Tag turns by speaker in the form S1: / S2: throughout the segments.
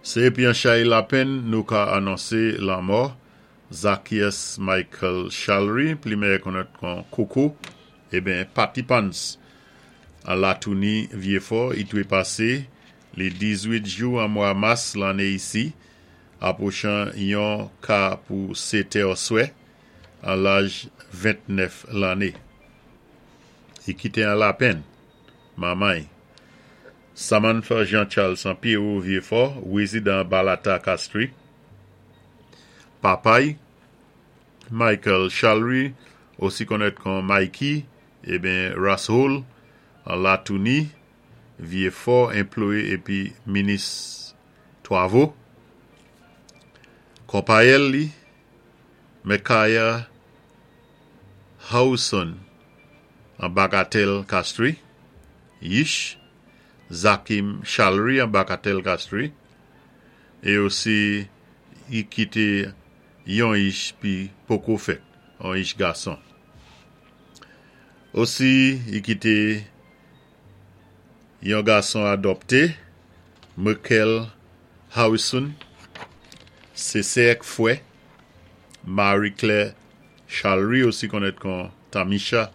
S1: Sé épi an chay lapenn nou ka anonsé lanmò Zaccheus Michael Charlery, pli méyè konnèt kon Koko, eben Patty Pants, an Latouni, Vyéfò, i twé pasé li 18 jou an mwa mas lanné isi, apwochan yon ka pou sétè swè, an laj 29 lanné. I kité an lapenn manman-y, Samantha Jean Charles an Pierrot Vyéfò, wézidan Balata Castries, papay Michael Charlery, osi konnèt kon Mikey, eben Rashole, an Latouni, Vyéfò, enployé épi minis twavo. Konpayèl li, Micaiah Howson, an Bagatelle Castries, yich, Zakim Charlery an Bagatelle Castries, é osi i kité yon yich pi poko fèt, on yich gason. Osi i kité yon gason adòpté, Michael Harrison, sé sè ak fwè, Marie-Claire Charlery, osi konnèt kon Tamisha,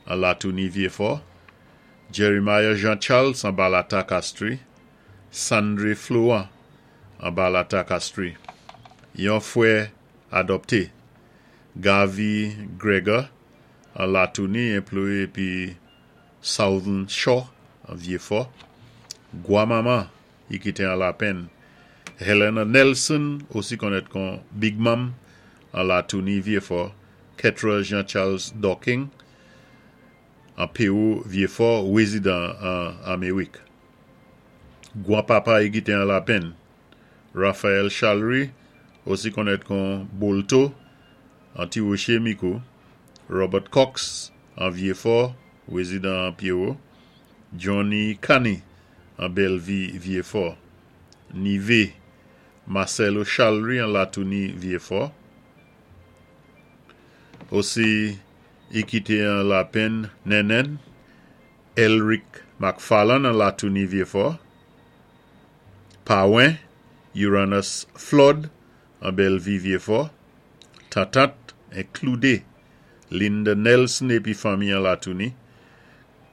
S1: an Latouni Vyéfò, Jeremiah Jean Charles an Balata Castries, Sandré Florent an Balata Castries, yon fwè adòpté, Gavi Gregor an Latouni, enployé épi Southern Shore an Vyéfò, Gwa manman i kité an lapenn, Helena Nelson, osi konnèt kon Big Mom, an Latouni Vyéfò, Ketra Jean Charles Docking, an Pewou Vyéfò, wézidan an Améwik. Gwan papa i kité an lapenn, Raphaël Charlery, osi konnèt kon Bolto, an Ti Woché Mikou, Robert Cox, an Vyéfò, wézidan an Pierrot, Johnny Cani, an Bellevue Vyéfò, Nivé, Marcelo Charlery an Latouni Vyéfò, osi i kité an lapenn Nènèn, Elric McFarlane an Latouni Vyéfò, Pawen, Uranus Flood an Bellevue Vyéfò, Tantant enkludé Linda Nelson épi fanmi an Latouni,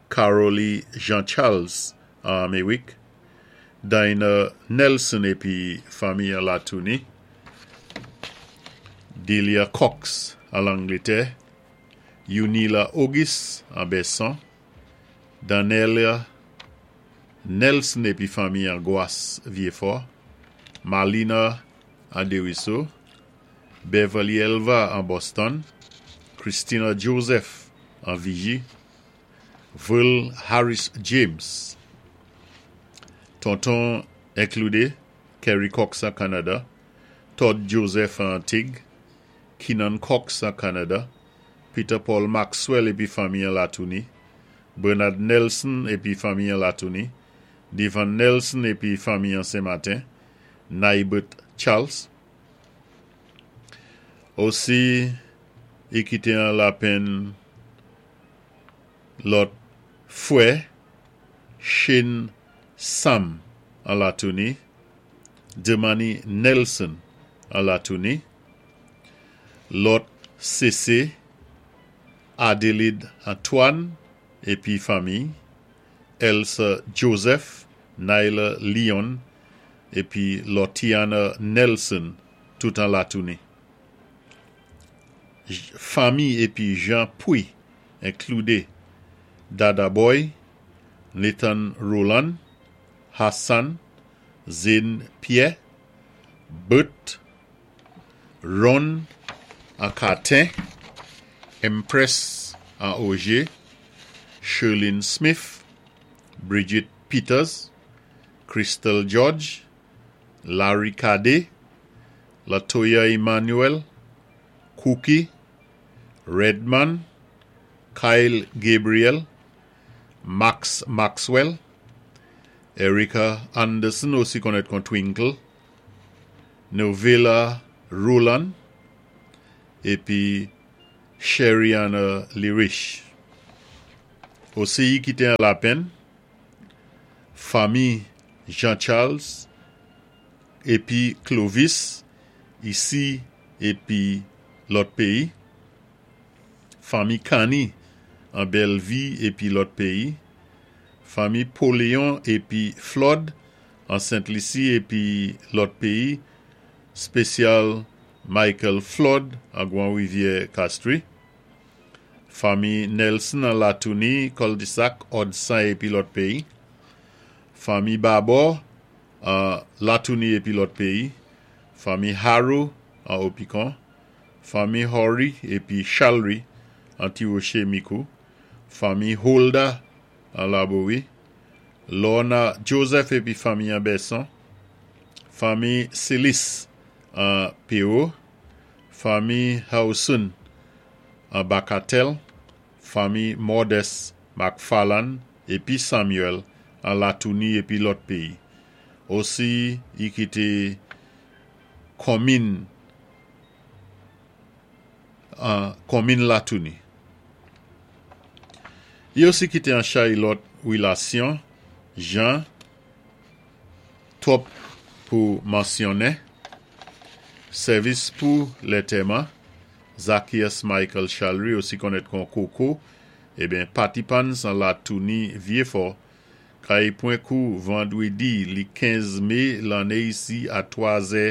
S1: Carolie Jean Charles an Améwik, Dinah Nelson épi fanmi an Latouni, Delia Cox an Langlétè, Yunila Auguste an Besson, Danelia Nelson épi fanmi an Gwas Vyéfò, Marlina an Deriso, Beverly Elva an Boston, Christina Joseph an Vigie, Verl Harris James, Tonton enkludé Kerry Cox an Kanada, Todd Joseph an Antig, Keenan Cox an Kanada, Peter Paul Maxwell épi fanmi an Latouni, Bernard Nelson épi fanmi an Latouni, Devon Nelson épi fanmi an Sen-Maten, Naibert Charles. Osi, i kité an lapenn lòt fwè, Shane Sam an Latouni, Demani Nelson an Latouni, lòt sése, Adelide Antoine épi fanmi, Elsa Joseph, Nyla Leon épi Lortiana Nelson, tout an Latouni. Fanmi épi Jean Pouy enkludé Dada Boy, Nathan Roland, Hassan, Zane Pierre, Bert, Ron an Cartin, Empress an Auger, Sherlyn Smith, Bridget Peters, Crystal George, Larry Cadet, Latoya Emmanuel, Cookie, Redman, Kyle Gabriel, Max Maxwell, Erica Anderson, osi konnèt kon Twinkle, Novella Roland, épi Sheriana Lirish. Osi i kité an lapenn, fanmi Jean Charles. épi Clovis, isi épi lòt péyi. Fanmi Kanny an Bèlvi épi lòt péyi. Fanmi Poléon épi Flood an Sent Lisi épi lòt péyi, spésyal Michael Flood an Gwan Rivyè Castries. Fanmi Nelson an Latouni, Kòldisak, Òdsan épi lòt péyi. Fanmi Babor an Latouni épi lòt péyi. Fanmi Harrow an Opikon. Fanmi Horry épi Chalry an Ti Woché Mikou. Fanmi Holda an Labowi. Lorna Joseph épi fanmi an Bèson. Fanmi Silis an Pewo. Fanmi Howson an Bakatèl. Fanmi Modest McFarland épi Samuel an Latouni épi lòt péyi. Osi i kité konmin an konmin Latouni. I osi kité an chay lòt wilasyon jan twòp pou mansyonnen. Sèvis pou lètèman, Zaccheus Michael Chalry osi konnèt kon Koko, eben Patipans an Latouni Vyefò, kay pwen kou vandwédi li 15 mé lanné isi a 3 zè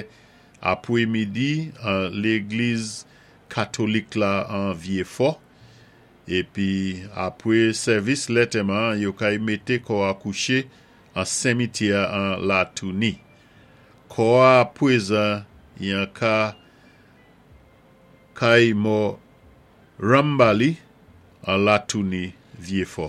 S1: apwé midi an légliz katolik la an Vyefò. Épi apwé sèvis lètèman yo kay mété kò a kouché an senmityè an Latouni. Kò a pwézan yan ka kay mò Rambali an Latouni Vyefò.